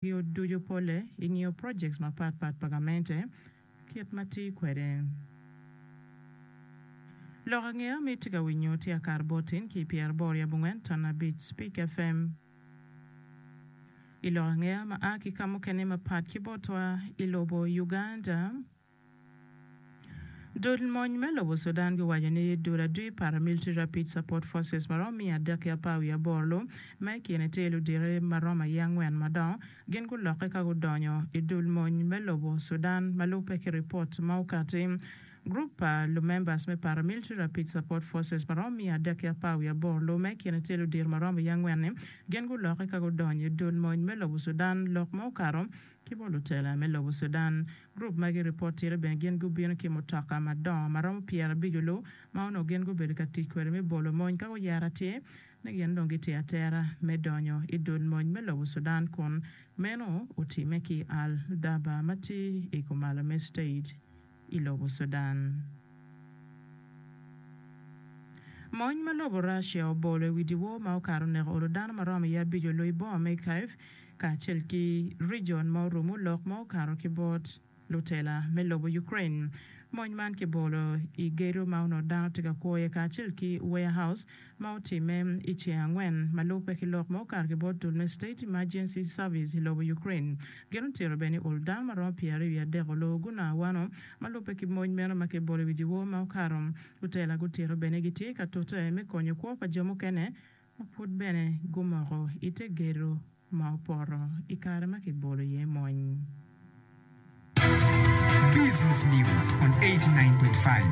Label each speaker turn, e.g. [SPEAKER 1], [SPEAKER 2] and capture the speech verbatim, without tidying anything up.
[SPEAKER 1] Ducu pole i ngiyo projects mapatpat pa gamente kit ma tye kwede. Lok angeya ma itye ka winyo tye akar botin ki pyeraboro i abongwen ton abic Spik FM. I lok angeya ma a ki ka mukene mapat ki botwa i lobo Uganda, Dul mony me lobo Sudan giwaco ni dul adwi Paramilitary Rapid Support Forces ma romo miya adek ki apar wiye aboro lu ma i kine tye ludite ma romo aye angwen madongo gin gulokke ka gudonyo i dul mony me lobo Sudan ma lubbe ki ripot ma okati. Gurup pa lumembers me Paramilitary Rapid Support Forces ma romo miya adek ki apar wiye aboro lu ma i kine tye ludito ma romo aye angwen-ni gin gulokke ka gudonyo i dul mony me lobo Sudan lok ma okato ki bot lutela me lobo Sudan. Gurup magi ripot tito bene gin gubino ki mutoka madongo ma romo pyerabic olu ma onongo gin gubedo ka tic kwede me bolo mony ka guyero atir ni gin dong gitye atera me donyo i dul mony me lobo Sudan kun meno otimme ki Al Daba ma tye i kumalo me state i lobo Sudan. Mony ma lobo Russia obolo i wi dyewor ma okato oneko olo dano ma romo iye abic olu i boma me Kyiv kacel ki region ma orumu lok ma okato ki bot lutela me lobo Ukraine. Mony man kibolo i gedo ma onongo dano tye ka kwo iye kacel ki warehouse ma otimme i ceng angwen ma lubbe ki lok ma okato ki bot dul me State Emergency Service i lobo Ukraine. Gin otito bene ni olo dano ma romo pyeraryo wiye adek olubo gunongo awano ma lubbe ki mony meno ma kibolo i wi dyewor ma okato. Lutela gutito bene gitye ka tute me konyo kwo pa jo mukene ma pud bene gumoko i te gedo ma opoto i kare ma kibolo iye mony.
[SPEAKER 2] Business News on eighty nine point five.